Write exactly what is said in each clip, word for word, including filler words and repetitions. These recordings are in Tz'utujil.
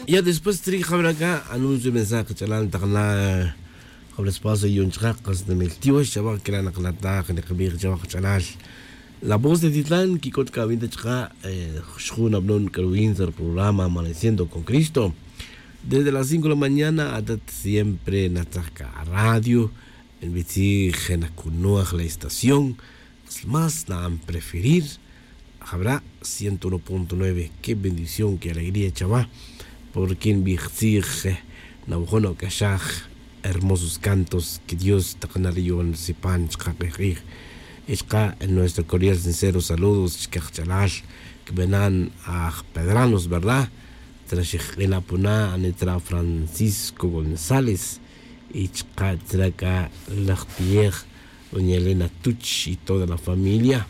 Ya después trij jabra acá anuncio mensaje ch'alal taq na jabra espacio yon chaqaq qas namil tiox chawaq kira' naq nataj nikbij chawaq ch'alal. La voz de titlan kik'ot kawin ta chaqa' xjun abnon k'aruwin sa' programa amaneciendo con cristo. Desde las cinco de la mañana atat siempre natzaj ka radio. Nbitzij nakunoj la estación más na'an preferir. Jabra' ciento uno punto nueve. Qué bendición qué alegría chawa. Porque nbij tzij nawajon ok'axaj hermosos cantos que dios taq nariyon sipan chqa' q'ij q'ij. Y chqa' en nuestro cordial sincero saludos chkaj ch'alal kbenan aj pedranos verdad. Tzra xijq'ila' puna' ani tzra francisco gonzález. Y chqa' tzra k'a laj tiej doña elena tuch y toda la familia.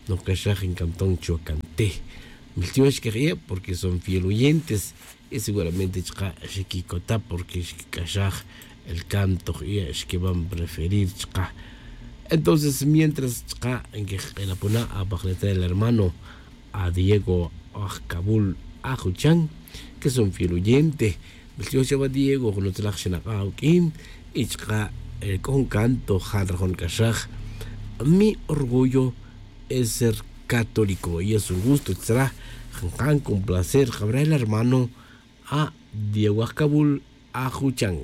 Noj k'axaj nk'amton chuwa kantej. Miltiox kej ie' porque son fiel oyentes. Y seguramente chqa' xikikota' porque xkik'axaj el canto je' ie' xkiban preferir chqa'. Entonces mientras chqa' nkejq'ila' puna' apaj letra el hermano a diego ajkabul ajuchan, que son fiel oyente. Miltiox chawa diego junutzlaj xinak'a' awk'in. Y chqa' k'o jun canto ja' nrajon k'axaj mi orgullo es ser católico y es un gusto tzra. Janjan con placer jabra el hermano a diego ajkabul ajuchan.